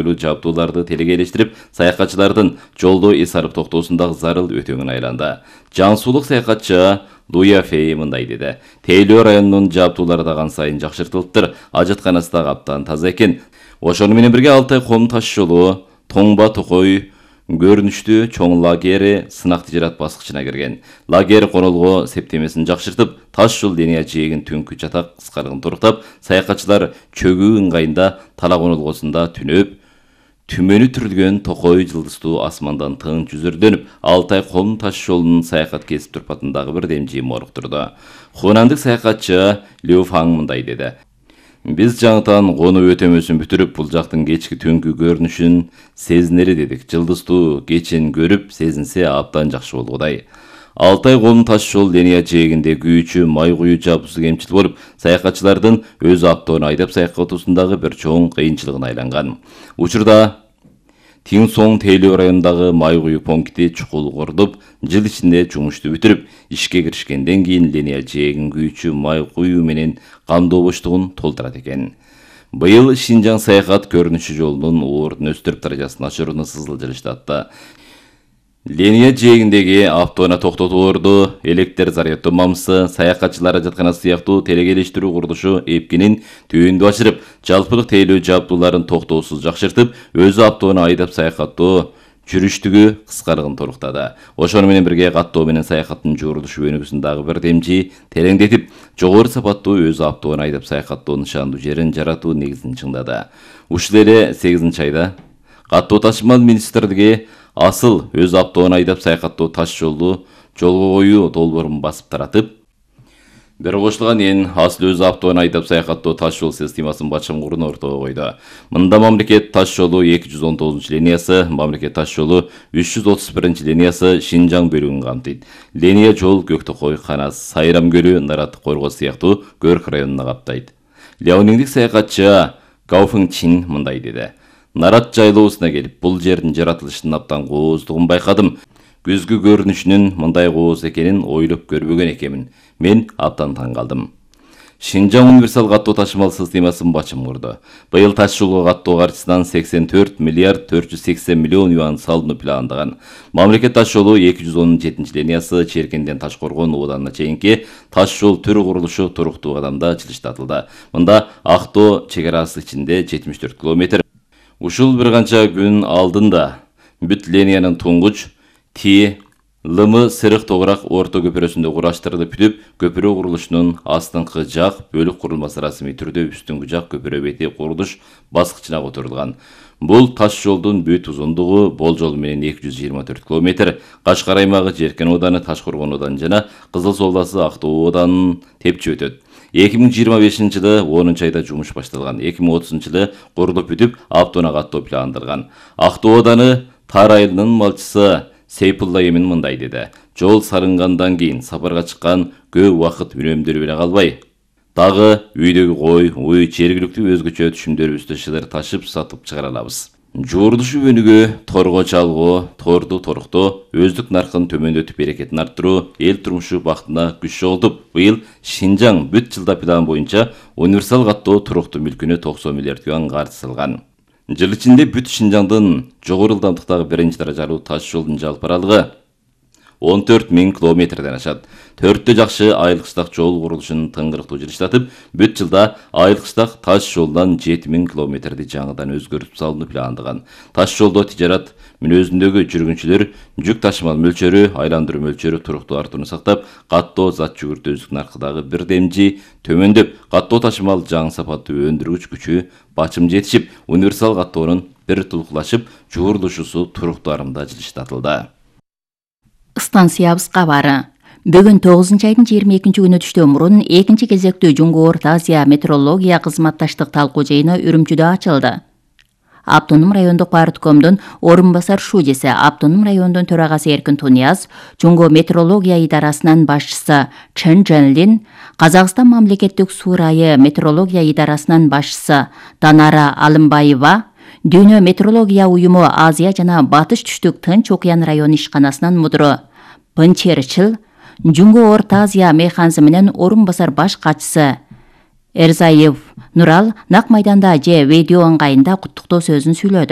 жабдууларды телегейлештирип, саякатчылардын жолдо эс алып токтоосундагы зарыл өтөңүн айланды. Жансуулук саякатчы Луя Фей мындай деди. Тейлөө районунун жабдуулары да кан сайын жакшыртылыптыр. Ажатканасы да каптан таза экен. Ошону менен бирге Алтай ком таш жолу Тоңба Токой көрүнүштүү чоң лагери сынак тижарат баскычына кирген. Лагер конолго септемесин жакшыртып, таш жол линия жээгин түнкү жатак кыскарыгын туруктап, саякатчылар чөгүү ыңгайында Тала конолгосунда түнөп, түмөнү түрүлгөн Токой жылдыздуу асмандан тың жүзүрдөнүп, Алтай ком таш жолунун саякат кесип турпатындагы бир демжи моруктурду. Хунандык саякатчы Лю Фаң мындай деди. Биз жаңытан кону өтөмөсүн бүтүрүп, бул жактын кечки түнкү көрүнүшүн сезинери дедик. Жылдыздуу кечен көрүп, сезинсе абдан жакшы болгудай. Алтай ком таш жол линия жээгинде күйүүчү май куюу жабдуусу кемчил болуп, саякатчылардын өз автоонун айдап саякатуусундагы бир чоң кыйынчылыгына айланган. Учурда Тиңсоң Тейлөө районундагы май куюу пункти чукул курулуп, жыл ичинде жумушту бүтүрүп, ишке киришкенден кийин линия жээгин күйүүчү май куюу менен камдоо боштугун толтурат экен. Быйыл Шинжаң саякат көрүнүшү жолунун ордун өстүрүп даражасын ачырууну сызылжырыштатты. Линия жээгиндеги автоона токтотуу орду, электр заряддоо мамысы, саякатчылар ажатканасы сыяктуу телегейлештирүү курулушу эпкинин түйүндү ашырып, жалпылык тейлөө жабдууларын токтоосуз жакшыртып, өзү автоону айдап саякаттоо жүрүштүгү кыскарыгын торуктады. Ошону менен бирге каттоо менен саякаттын жуурулушу өнүгүүсүн дагы бир демжи тереңдетип, жогору сапаттуу өзү автоону айдап саякаттоо нышандуу жерин жаратуу негизин чыңдады. Ушул эле 8-айда каттоо ташымал министрлиги асыл өз автоону айдап саякаттоо таш жолду жолго коюу долбоорун басып таратып, бир кошулган кийин асыл өз автоону айдап саякаттоо таш жол системасын башкарууну ортого койду. Мында мамлекет таш жолу 219-линиясы, мамлекет таш жолу 331-линиясы Шинжаң бөлүгүн камтыйт. Линия жол Көктөкой, Канас, Сайрам көлү, Нарат, Коргоз сыяктуу Көрк районуна каптайт. Ляониңдик саякатчы Гао Фың Чин мындай деди. Нарат жайлоосуна келип, бул жердин жаратылышынын абдан кооздугун байкадым. Күзгү көрүнүшүнүн мындай кооз экенин ойлоп көрбөгөн экенмин. Мен абдан таң калдым. Шинжаң универсал каттоо ташымал системасын башым курду. Быйыл таш жолго каттоо каржысынан 84 миллиард 480 миллион юан салынуу пландаган. Мамлекет таш жолу 217-линиясы Черкенден Ташкоргон ооданына чейинки таш жол түрү курулушу туруктуу кадамда жылыштатылды. Мында Актоо чек-арасы ичинде 74 километр. Ушул бир канча күн алдында бүт линиянын туңгуч Ти Лымы сырык тогурак орто көпүрөсүндө кураштырылып бүтүп, көпүрө курулушунун астыңкы жак бөлүк курулмасы расмий түрдө үстүңкү жак көпүрө бети курулуш баскычына которулган. Бул таш жолдун бүт узундугу болжол менен 224 километр. Кашкар аймагы Жеркен ооданы, Ташкоргон ооданы жана Кызыл Солдасы Актоо ооданын тепчи өтөт. 2025-жылы 10-айда жумуш башталган. 2030-жылы курулуп бүтүп, автоона каттоо пландалган. Актоо ооданы Тар айылынын малчысы Сейпулла Эмин мындай деди. Жол сарынгандан кийин сапарга чыккан көп убакыт үнөмдөрү эле калбай, дагы үйдөгү кой, уй, жергиликтүү өзгөчө түшүмдөрүбүздү шыдыр ташып сатып чыгара алабыз. Жуурулушу өнүгүү, торго чалгоо, торду торуктоо, өздүк наркын төмөндөтүп берекетин арттыруу, эл турмушу бактына күч жоготуп, быйыл Шинжаң бүт жылда план боюнча универсал каттоо туруктуу мүлкүнө 90 миллиард юан каржы салган. Жыл ичинде бүт Шинжаңдын жогору ылдамдыктагы 1-даражалуу таш жолдун жалпы аралыгы 14 000 километрден ашат. 4 жакшы айыл-кыштак жол курулушун тыңгырыктуу жылыштатып, бүт жылда айыл-кыштак таш жолдан 7 000 километрди жаңыдан өзгөртүп салууну пландаган. Таш жолдо тижарат мүнөзүндөгү жүргүнчүлөр жүк ташымал мөлчөрү, айландыруу мөлчөрү туруктуу артууну сактап, каттоо зат жүгүртүүчүлүк наркыдагы бир демжи төмөндөп, каттоо ташымал жаңы сапаттуу өндүргүч күчү бачым жетишип, универсал каттоонун бир тулкулашып, жуурулушусу туруктуу арымда жылыштатылды. Станциябыз кабары. Бүгүн 9-айдын 22-күнү түштөн мурун 2-чи кезектүү Жуңгу Орто Азия метрология кызматташтык талкуу жыйыны Үрүмчүдө ачылды. Автоном райондук парткомдун орун басар шудеси, автоном райондун төрагасы Эркин Тунияз, Жуңгу метрология идарасынын башчысы Чен Жэнлин, Казакстан мамлекеттик суу райы метрология идарасынын башчысы Танара Алымбаева, Дүйнө метрология уюму Азия жана Батыш түштүк Тынч окуян району ишканасынын мудуру Пын Черчил, Жуңгу Орто Азия механизминин орун басар баш катчысы Эрзаев Нурал нак майданда же видео ыңгайында куттуктоо сөзүн сүйлөдү.